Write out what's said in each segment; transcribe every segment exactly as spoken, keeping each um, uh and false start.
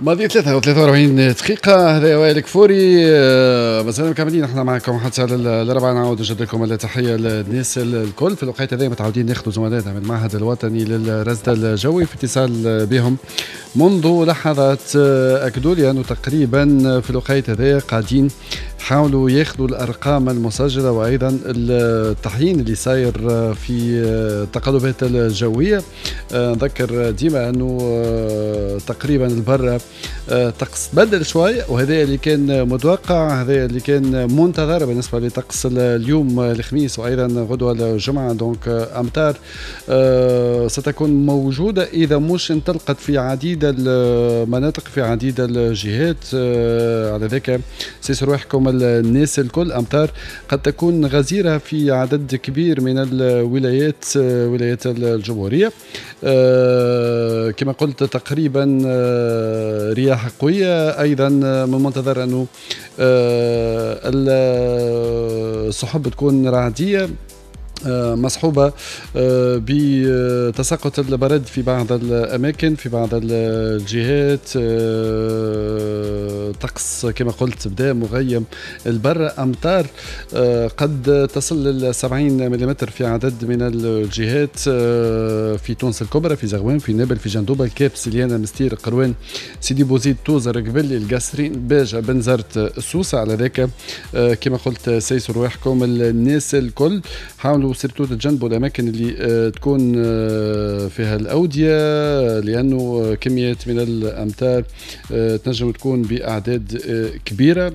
ماضي ثلاثة وثلاثة وأربعين دقيقة، هذا وائل كفوري، آه، مازلنا مكملين احنا معكم حتى الأربعة. نعاود نجدد لكم التحية للناس الكل. في الوقت هذا متعودين ناخذوا زملائنا من المعهد الوطني للرصد الجوي في اتصال بهم منذ لحظات. آه، أكدوا لي أنه تقريبا في الوقت هذا قاعدين حاولوا ياخذوا الارقام المسجلة وايضا التحيين اللي صاير في التقلبات الجويه. آه، نذكر ديما انه تقريبا البرة طقس بدل شوي، وهذا اللي كان متوقع، هذا اللي كان منتظر بالنسبة لطقس اليوم الخميس وايضا غدوه الجمعه. donc امطار آه، ستكون موجودة اذا مش انطلقت في عديد المناطق، في عديد الجهات. آه، على ذاك سيسوا رواحكم الناس الكل. امطار قد تكون غزيرة في عدد كبير من الولايات، آه، ولايات الجمهوريه. كما قلت تقريبا رياح قوية، أيضا من المنتظر أنه آه، السحب تكون رعدية آه، مصحوبة آه، بتساقط البرد في بعض الأماكن، في بعض الجهات. آه، طقس كما قلت بدا مغيم البر، أمطار قد تصل لل سبعين ملم في عدد من الجهات في تونس الكبرى، في زغوان، في نابل، في جندوبة، الكاف، سليانة، مستير، قروان، سيدي بوزيد، توزر، قبلي، القصرين، باجة، بنزرت، سوسة. على ذاك كما قلت سيسوا رواحكم الناس الكل، حاولوا surtout تتجنبوا الاماكن اللي آه، تكون آه، فيها الاوديه، لانه كميات من الامطار آه، تنجم تكون باعداد كبيرة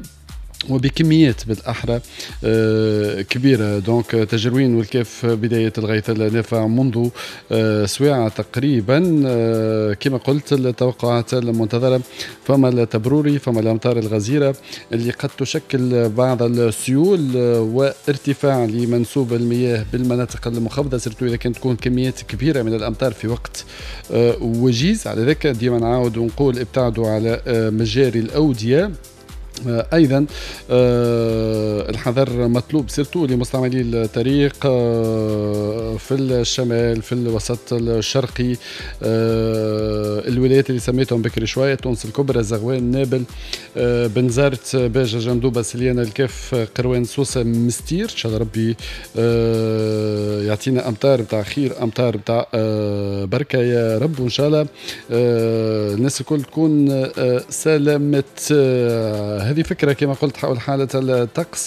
وبكميات بالاحرى آه، كبيره. donc تاجروين والكاف بداية الغيث النافع منذ آه، سويعه تقريبا. آه، كما قلت التوقعات المنتظره، فما التبروري، فما الامطار الغزيرة اللي قد تشكل بعض السيول وارتفاع لمنسوب المياه بالمناطق المنخفضه، surtout اذا كانت تكون كميات كبيرة من الامطار في وقت وجيز. على ذلك ديما نعاود ونقول ابتعدوا على مجاري الاوديه. آه، ايضا آه، الحذر مطلوب surtout لمستعملي الطريق آه، في الشمال، في الوسط الشرقي، الولايات اللي سميتهم بكري شويه: تونس الكبرى، زغوان، نابل، بنزرت، باجة، جندوبه، سليانة، الكاف، قروان، سوسه، مستير. ان شاء الله ربي يعطينا امطار بتاع خير، امطار بتاع بركة يا رب، وان شاء الله الناس الكل تكون سلامت. هذه فكرة كما قلت حول حاله الطقس.